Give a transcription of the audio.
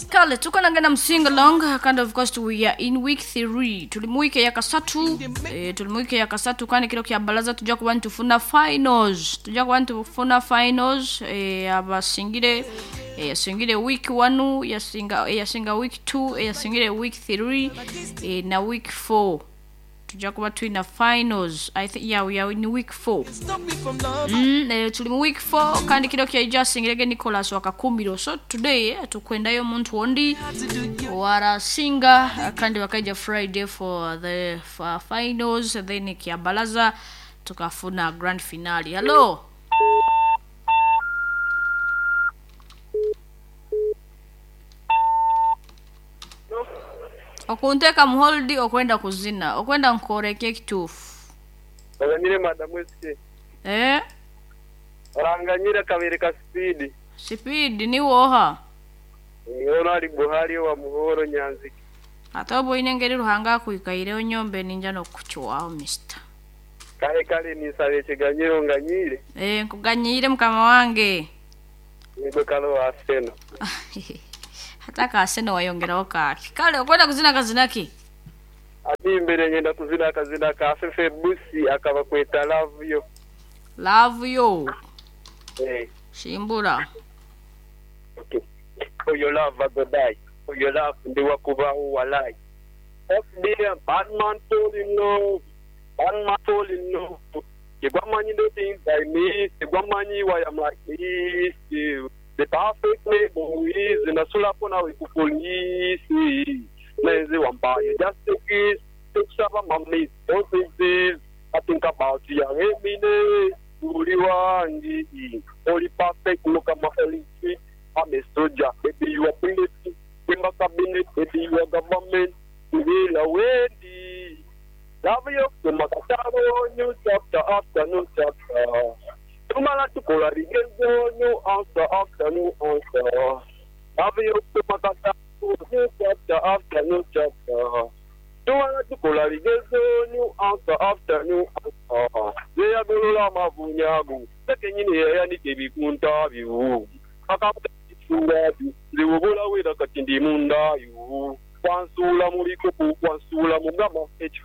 Kale tuko nangana msinga long kind of course we are in week 3, tuli mu wiki ya kasatu, tuli mu wiki ya kasatu kandi kiro kya balaza tujja kuba ntufuna finals, tujja kuba ntufuna finals. Abasingire, yasingire week 1, yasinga, yasinga week 2, yasingire week 3, na week 4 tujja kuba tulina finals. I think, yeah, we are in week 4. Tuli mu week 4 kandi kiro kyaija asingirege Nicholas Wakakumbiro. So today, tukwendayo omuntu ondi warasinga kandi bakaija Friday for the for finals, then kyabalaza tukafuna grand finale. Hello. Okunteeka mu hold okwenda kuzina okwenda nkoreka ekituufu. Oranganyire madamu SK. Eh? Oranganyire kabiri ka speed. Speed ni woha? Ono ali Buhari wa Muhoro Nyanziki. Ate oba oine engeri Ruhanga akwikaireho nyombe ninja n'okukucwaho mister. Kale kale ninsaba ekiganyiro nganyire. Eh, nkuganyire mukama wange. Nigwe kale wa Arsenal. Hata ka Arsenal wayongeraho kaaki. Kale okwenda kuzina kazina ki? Ati imbere nyenda kuzina akazina ka Fefe Busi akaba kweta Love Yo. Love Yo. Eh. Shimbura. Okay. For your love I go die. For your love ndi wakubaho walai. FBM, bad man fall in love. Bad man fall in love. Kigwamanyi the things I miss. Kigwamanyi why I'm like this. The perfect neighbor is nasulapo nawe ku police. Neze wampaye just a kiss. Tukusaba mami, don't think this. I think about you every day. Uli wangi. Oli perfect, look at my elite. I'm a soldier, baby you are bullet. In my cabinet, baby you are government. Bila wendi. Love you, tumakatabo, new chapter after new chapter. Tumala tukola bigezo, new answer after new answer. Love you, tumakatabo, new chapter after new chapter. Tumala tukola bigezo, new answer after new answer. Yeyagolola amavunyago, sekenyini yeyanika ebikunta byo. Akamutuwabi, nze wobola wera kati ndi mundayo. Wansuula mu bikopo, wansuula mu gama, ekifo